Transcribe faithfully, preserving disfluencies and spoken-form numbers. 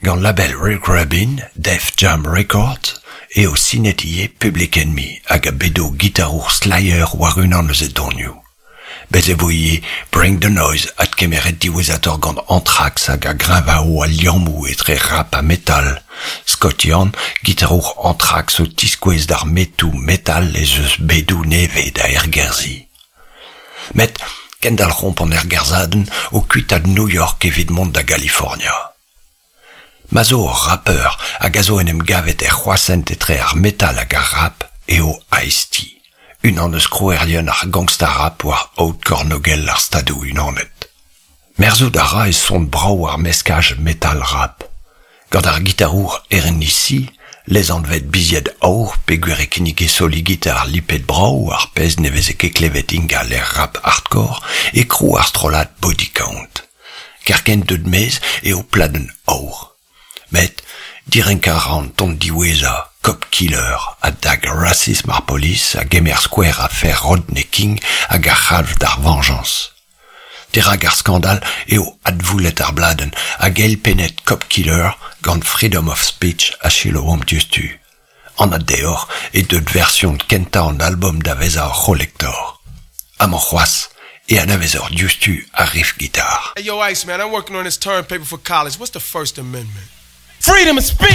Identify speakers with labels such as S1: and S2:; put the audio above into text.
S1: Gant label Rick Rubin, Def Jam Records, eo sinet ivez Public Enemy hag a bedo gitarour Slayer war unan eus e donioù. Bez e vo ivez Bring the Noise adkemeret diwezhatoc'h gant Anthrax hag a greñvao al liammoù etre rap ha metal. Scott Ian, gitarour Anthrax o tiskouez d'ar metoù metal ez eus bedoù nevez da ergerzhiñ. Met kendalc'homp an ergerzhadenn o kuitaat New York evit mont da Galifornia. Ma zo ur rapper hag a zo en em gavet er c'hroashent etre ar metal hag ar rap eo Ice-T, unan eus krouerien ar gangsta rap war aod kornôgel ar Stadoù-Unanet. Merzout a ra e son brav ar meskaj metal-rap. Gant ar gitarour R N I C, lesanvet Bizied Aour peogwir e kinnige soli gitar lipet brav ar pezh ne veze ket klevet ingal er rap hardcore e krou ar strollad Body Count. Kerkent deut maez eo pladenn aour. Met direnkañ a ra an ton diwezhañ, Cop Killer, a dag rasism ar polis a gemer skouer afer Rodney King hag a c'halv d'ar veñjañs. Dirak ar skandal eo advoulet ar bladenn hag eilpennet Cop Killer gant Freedom of Speech a selaouomp diouzhtu. Anat deoc'h eo deut version kentañ an album da vezañ ur c'holektor. Amañ c'hoazh e anavezoc'h diouzhtu ar riff gitar.
S2: Hey, yo, Ice, man, I'm working on this term paper for college. What's the First Amendment? Freedom of speech!